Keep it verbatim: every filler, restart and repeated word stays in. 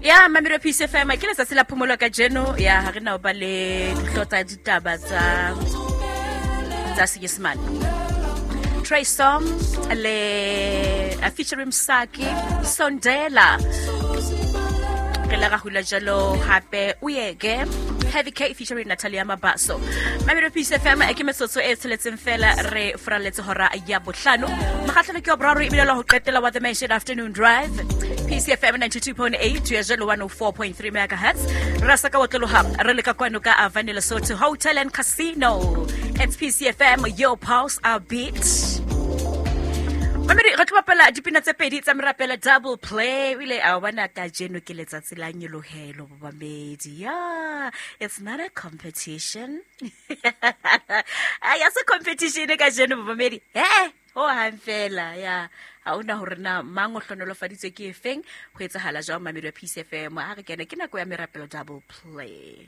Ya mamelo P C F M ke letsatsi la phomolo ka jeno ya ha re na ba le dihlooho tsa ditaba tsa tsa Senyesemane. Trey Songz le a featuring Msaki Sondela. Re la ra hula jalo hape Uyeke Heavy K featuring Natalia Mabaso. Mamelo P C F M ke metsotso e tsheletseng fela re furaletse hora ya bohlano. Mokgahlelo ke wa boraro ebile la ho qetela wa The Mansion Afternoon Drive. P C F M ninety-two point eight to ya one oh four point three megahertz. Re sa ka otloloha re le ka kwano ka Avani Lesotho Hotel and Casino. It's P C F M, your pulse, our beat. Mamedi re tlo bapala dipina tse pedi tsa merapelo double play. O ile a bona kajeno ke letsatsi la nyolohelo bobamedi. Yeah, it's not a competition. Ya se competition kajeno bobamedi. Eh, ho hang fela ya. Ha ona hore na mang o hlonolofaditswe ke efeng ho etsahala jwang mamedi wa P C F M. Ha re kene ke nako ya merapelo double play.